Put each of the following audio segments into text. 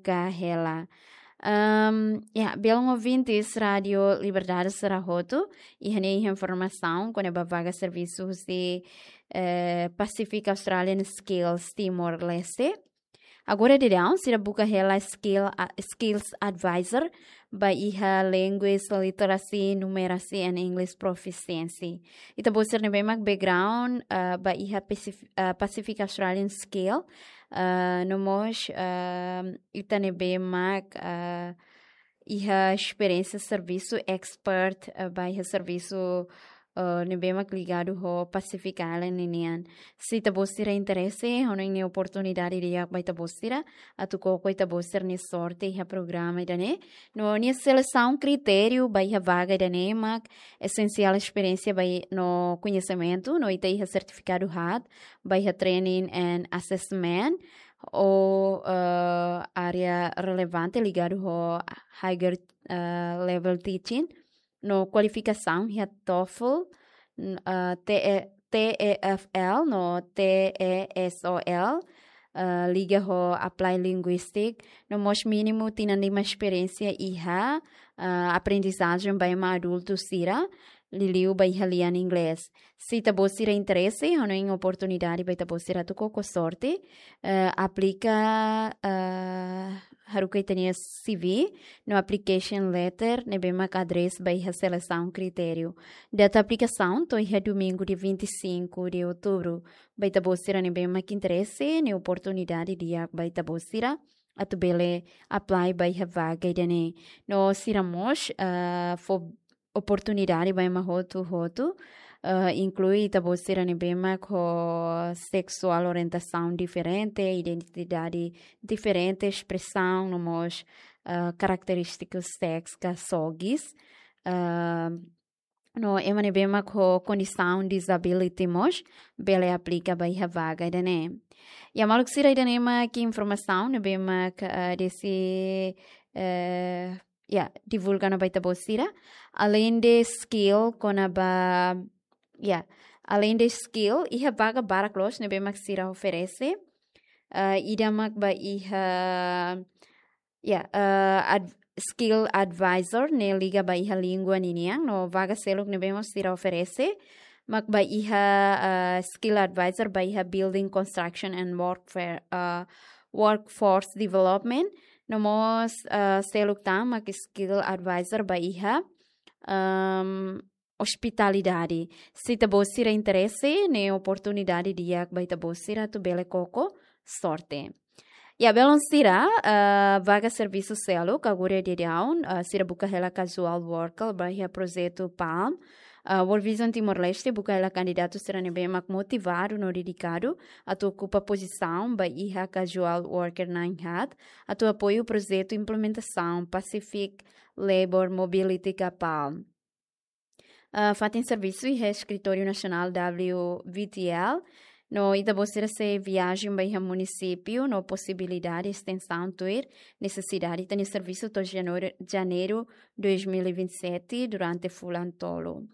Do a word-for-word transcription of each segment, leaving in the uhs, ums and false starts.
ka hela. Ahm, ya, belun ouvintes Rádio Liberdade sira hotu, iha ne'e iha informasaun kona-ba vaga servisu husi, eh, Pacific Australian Skills Timor-Leste. Agora daudaun sira buka hela skill, a-, skills advisor ba iha language, literacy, numeracy and English proficiency. Ita-boot sira ne'ebé mak background, ah, ba iha Pacif-, ah, Pacific Australian Skill, ah, no mós, ah, ita ne'ebé mak, ah, iha esperiénsia servisu expert, ah, ba iha servisu, ah, ne'ebé mak ligadu ho Pacific Island ninian. Se ita-boot sira interese, hanoin ne'e oportunidade di'ak ba ita-boot sira, atu koko ita-boot sira-nia sorte iha programa ida-ne'e. No nia selesaun kritériu ba iha vaga ida-ne'e mak esensiál esperiénsia ba i-, no koñesimentu, no ita iha sertifikadu haat ba iha training and assessment, ou, eh, área relevante ligadu ho higher, eh, level teaching, no kualifikasaun iha TOEFL, n-, eh, T E, T E F L, no T E S O L, eh, liga ho applied linguistic, no mós mínimu tinan lima esperiénsia iha, eh, aprendizajen ba ema adultu sira, liuliu ba iha lian inglés. Se ita-boot sira interese, hanoin oportunidade ba ita-boot sira atu koko sorte, eh, aplika, eh, haruka ita-nia C V, no application letter, ne'ebé mak address ba iha selesaun kritériu. Data aplikasaun to'o iha domingu dia vinte e cinco de outubro. Ba ita-boot sira ne'ebé mak interese, ne'e oportunidade di'ak ba ita-boot sira atu bele apply ba iha vaga ida-ne'e. No sira mós, ah, fó oportunidade ba ema hotu-hotu, ah, inklui ita-boot sira ne'ebé mak ho seksuál orientasaun diferente, identidade diferente, espresaun, no mós, ah, karakterístiku sexu ka SOGIs. Ah, no ema ne'ebé mak ho kondisaun disability mós bele aplika ba iha vaga ida-ne'e. Ya, maluk sira, ida-ne'e mak informasaun ne'ebé mak, ah, desi, eh, ya, divulga ona ba ita-boot sira. Além de skill kona-ba, ya, além de skill, iha vaga barak loos ne'ebé mak sira oferese. Ah, ida mak ba iha, ya, eh, ad-, skill advisor ne'e liga ba iha língua ninian, no vaga seluk ne'ebé mak sira oferese mak ba iha, eh, skill advisor ba iha building construction and workfare, eh, workforce development, no mós, eh, seluk tan mak skill advisor ba iha, ehm, ospitalidade. Se ita-boot sira interese, ne'e oportunidade di'ak ba ita-boot sira atu bele koko sorte. Ya, belun sira, eh, vaga servisu seluk agora daudaun, eh, sira buka hela casual worker ba iha projetu PALM. Eh, World Vision Timor-Leste buka hela kandidatu sira ne'ebé mak motivadu no dedikadu atu okupa pozisaun ba iha casual worker na'in haat, atu apoiu projetu implementasaun Pacific Labour Mobility ka PALM. Ah, fatin servisu iha Eskritóriu Nasionál W V T L, no ita-boot sira sei viajen ba iha munisípiu, no posibilidade estensaun tuir nesesidade ita-nia servisu to'o janeiru, janeiru dois mil e vinte e sete, durante fulan tolu.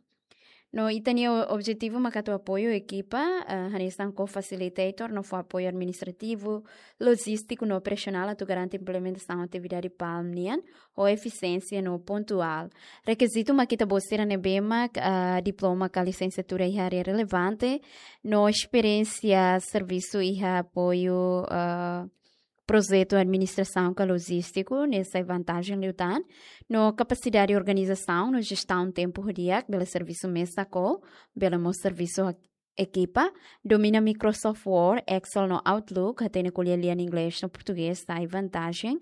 No ita-nia o-, objetivu mak atu apoiu ekipa, ah, hanesan ko-facilitator, no fó apoiu administrativu, lojístiku no operasionál atu garante implementasaun atividade PALM nian ho efisiénsia no pontuál. Rekizitu mak ita-boot sira ne'ebé mak, ah, diploma ka lisensiatura iha área relevante, no esperiénsia servisu iha apoiu, ah, projetu administrasaun ka lojístiku, ne'e sai vantajen liután, no kapasidade organizasaun no jestaun tempu ho di'ak, bele servisu mesak ou bele mós servisu ho ekipa, domina Microsoft Word, Excel no Outlook, hatene ko'alia lian inglés no portugés sai vantajen,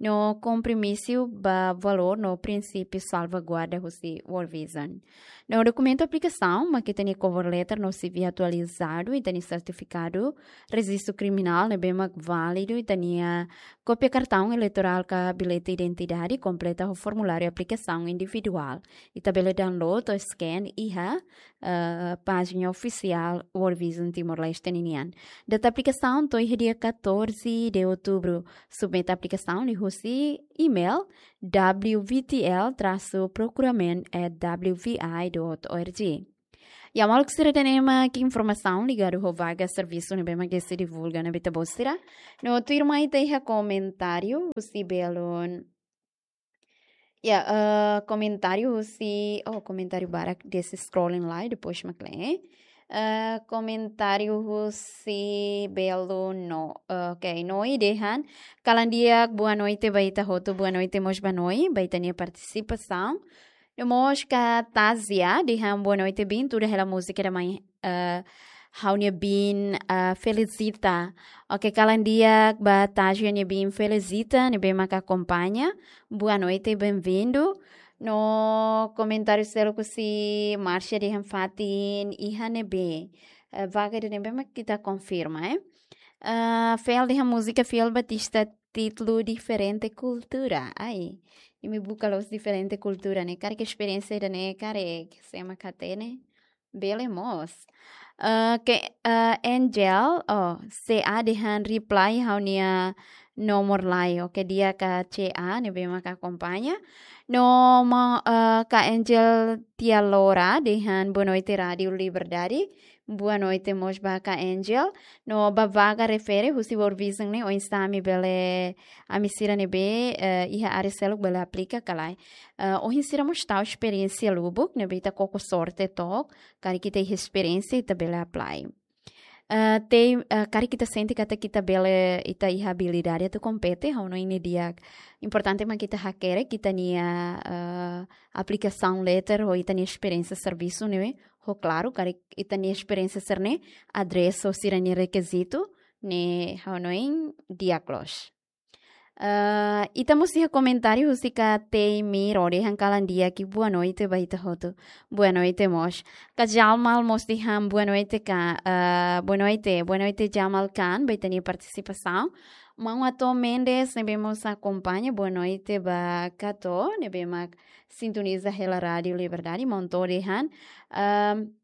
no kompromisu ba valór no prinsípiu salvaguarda husi World Vision. No dokumentu aplikasaun mak ita-nia cover letter no C V atualizadu, ita-nia sertifikadu rejistu kriminál ne'ebé mak válidu, ita-nia kópia kartaun eleitorál ka bilhete identidade, kompleta ho formuláriu aplikasaun individuál. Ita bele download ou scan iha, eh, pájina ofisiál World Vision Timor-Leste ninian. Data aplikasaun to'o iha dia catorze de outubro. Submete aplikasaun liuhusi email W V T L traço procurement at W V I dot org. Ya, maluk sira, ida-ne'e mak informasaun ligadu ho vaga servisu ne'ebé mak sei divulga ona ba ita-boot sira. No tuirmai ita iha komentáriu husi belun. Ya, eh, komentáriu husi, oh, komentáriu barak, depois scrolling lai, depois mak lee. Eh, komentáriu husi belun no, eh, ok, Noi dehan: Kalan di'ak, boa noite ba ita hotu, boa noite mós ba Noi, ba ita-nia partisipasaun. No mós Katazia dehan: boa noite, biin, tuda hela múzika ida mai, eh, ha'u-nia biin, eh, Felicita. Ok, kalan di'ak ba Tazia nia biin Felicita, ne'ebé maka akompaña. Boa noite, bem-vindo. No komentáriu seluk husi Márcia dehan fatin iha ne'ebé. Eh, vaga ida-ne'ebé mak ita konfirma, eh. Eh, Fel dehan múzika Fiel Batista títulu Diferente Kultura. Ai, imi buka loos diferente kultura ne'e. Karik esperiénsia ida-ne'e karik, se ema hatene, bele mós. Eh, ke, eh, Angel, oh, C A dehan reply ha'u-nia nomor lai. Ok, di'ak ka C A, ne'ebé maka akompaña. No ma, eh, Ka Angel Tialora dehan boa noite Rádiu Liberdade. Boa noite mós ba Ka Angel. No ba vaga refere husi World Vision ne'e, oinsá ami bele, ami sira ne'ebé, eh, iha área seluk bele aplika ka lae. Eh, ohin sira mós tau esperiénsia lubuk, ne'ebé ita koko sorte took, karik ita iha esperiénsia ita bele apply. Eh, tei, eh, karik ita sente katak ita bele, ita iha abilidade atu kompete, ha'u hanoin ne'e di'ak. Importante mak ita hakerek ita-nia, eh, application letter ho ita-nia esperiénsia servisu ne'e, ho klaru, karik ita-nia esperiénsia sira-ne'e adresa ho sira-nia rekizitu, ne'e ha'u hanoin di'ak loos. Eh, ita mós iha komentáriu husi Ka Tei Miro dehan kalan di'ak i boa noite ba ita hotu. Boa noite mós. Ka Jamal mós dehan boa noite ka, eh, boa noite, boa noite Jamal Khan, ba ita-nia partisipasaun. Maun Ato Mendes ne'ebé mós akompaña, boa noite ba Ka Ato, ne'ebé mak sintoniza hela Rádiu Liberdade, maun Ato dehan. Ehm,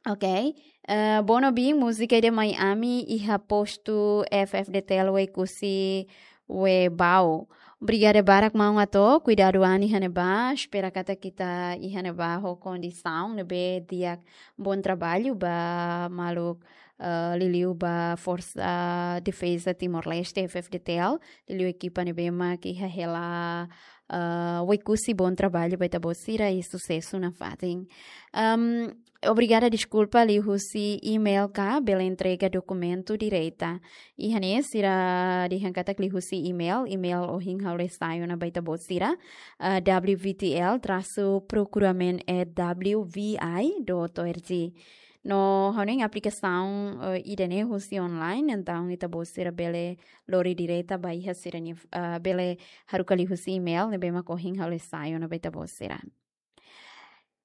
ok. Eh, Bono biin, múzika ida mai ami iha postu F F D T L Oekusi Webau. Obrigada barak maun Ato, kuidadu an iha ne'ebá, espera katak ita iha ne'ebá ho kondisaun ne'ebé di'ak, bom trabalho ba maluk, eh, liuliu ba Forsa Defeza Timor-Leste, F F D T L, liuliu ekipa ne'ebé mak iha hela, eh, Oekusi, bom trabalho ba ita-boot sira i susesu nafatin. Ehm, obrigada, deskulpa, liuhusi email ka bele entrega dokumentu direta. Iha ne'e sira dehan katak liuhusi email, email ohin ha'u lee sai ona ba ita-boot sira, eh, W V T L trasu procurement at W V I dot O R G. No ha'u hanoin aplikasaun, eh, ida-ne'e husi online, entaun ita-boot sira bele lori direta ba iha sira-nia, eh, bele haruka liuhusi email ne'ebé mak ohin ha'u lee sai ona ba ita-boot sira.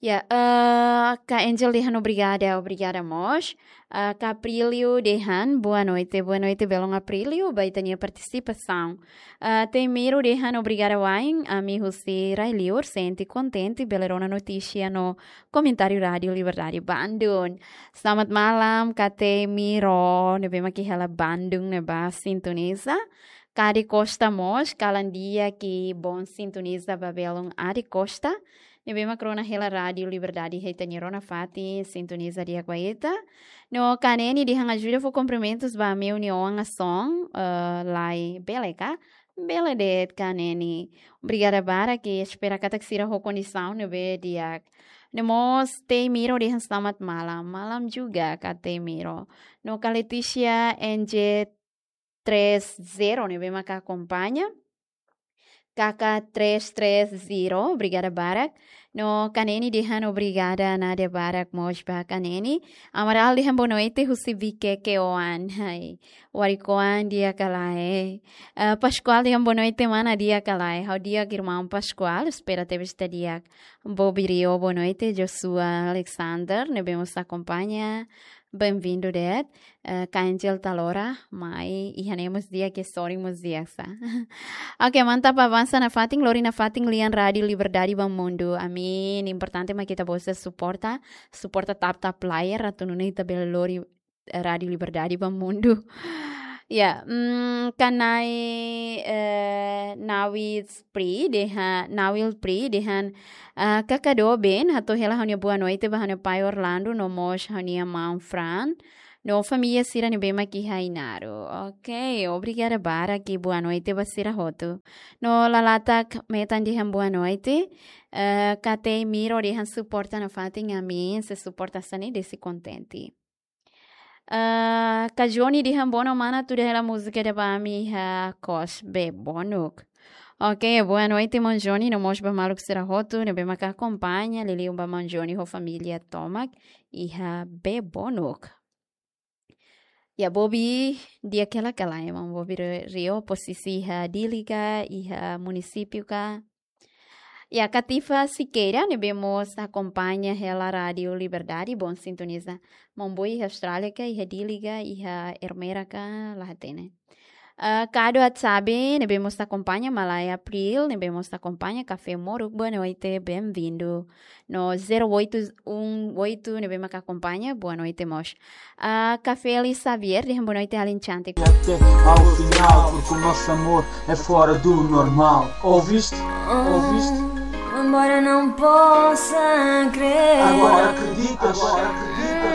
Ya, eh, Ka Angel dehan obrigada, obrigada mós. Eh, Ka Aprílio dehan boa noite, boa noite belun Aprílio, ba ita-nia partisipasaun. Eh, Tei Miro dehan obrigada wa'in, ami husi rai-liur sente kontente bele rona notísia no komentáriu Rádiu Liberdade Bandung. Selamat malam, Ka Tei Miro, ne'ebé mak iha hela Bandung ne'ebá sintoniza. Ka Adi Costa mós, kalan di'ak i bom sintoniza ba belun Adi Costa, ne'ebé mak rona hela Rádiu Liberdade iha ita-nia rona fatin, sintoniza di'ak ba ita. No Ka Neni dehan ajuda fó kumprimentus ba ami-nia oan Ason, eh, lae, bele ka? Bele de'it Ka Neni. Obrigada barak i espera katak sira ho kondisaun ne'ebé di'ak. No mós Tei Miro dehan selamat malam. Malam juga Ka Tei Miro. No Ka Letícia N J três zero ne'ebé maka akompaña. K K três três zero, obrigada barak. No Ka Neni dehan obrigada nada barak mós ba Ka Neni. Amaral dehan boa noite husi Viqueque oan. Hai. Warik oan di'ak ka lae. Eh, Pascoal dehan boa noite mana, di'ak ka lae. Ha'u di'ak irmaun Pascoal, espera tebes ita di'ak. Bob Rio, boa noite. Joshua Alexander, ne'ebé mós akompaña. Bem-vindo de'it. Eh, Ka Angel Talora, mai, iha ne'e mós di'ak, ke sorin mós di'ak sa. Ok, mantap, avansa nafatin, lori nafatin lian Rádiu Liberdade ba Mundu. Amin, importante mak ita-boot sira suporta, suporta tap-tap layar, atu nune'e ita bele lori, eh, Rádiu Liberdade ba Mundu. Ya, mm, Ka Nai, eh, Nawil Pri dehan, Nawil Pri dehan, ah, kakadu ben, hato'o hela ha'u-nia boa noite ba ha'u-nia pai Orlando, no mós ha'u-nia maun Fran, no família sira ne'ebé mak iha Ainaro. Ok, obrigada barak, boa noite ba sira hotu. No Lalatak Metan dehan boa noite, eh, Katei Miro dehan suporta nafatin, amin, se suporta hanesan ne'e deside kontente. Ah, Kajoni dehan bono mana tuda hela múzika ida ba ami iha kos Bebonuk. Ok, boa noite, maun Joni, no mós ba maluk sira hotu ne'ebé maka akompaña, liuliu ba maun Joni ho família tomak iha Bebonuk. Ya, Bobi, di'ak hela ka lae, maun Bobi Ri-, Rio, posisi iha Dili ka, iha munisípiu ka? Ya, Katifa Siqueira, ne'ebé mós akompaña hela Rádio Liberdade, bom sintoniza. Maun Bobi iha Austrália ka, iha Dili ka, iha Ermera ka, la hatene. Ah, Kado Atsabe, ne'ebé mós akompaña, Malaya April, ne'ebé mós akompaña, Kafé Moruk, boa noite, bem-vindo. No zero oito um oito, ne'ebé maka akompaña, boa noite mós. Ah, Kafé Eli Xavier, dehan boa noite, alin cantik. Até ao final, porque o nosso amor é fora do normal. Ouviste? Ouviste? Embora não possa crer. Agora acreditas? Agora acreditas?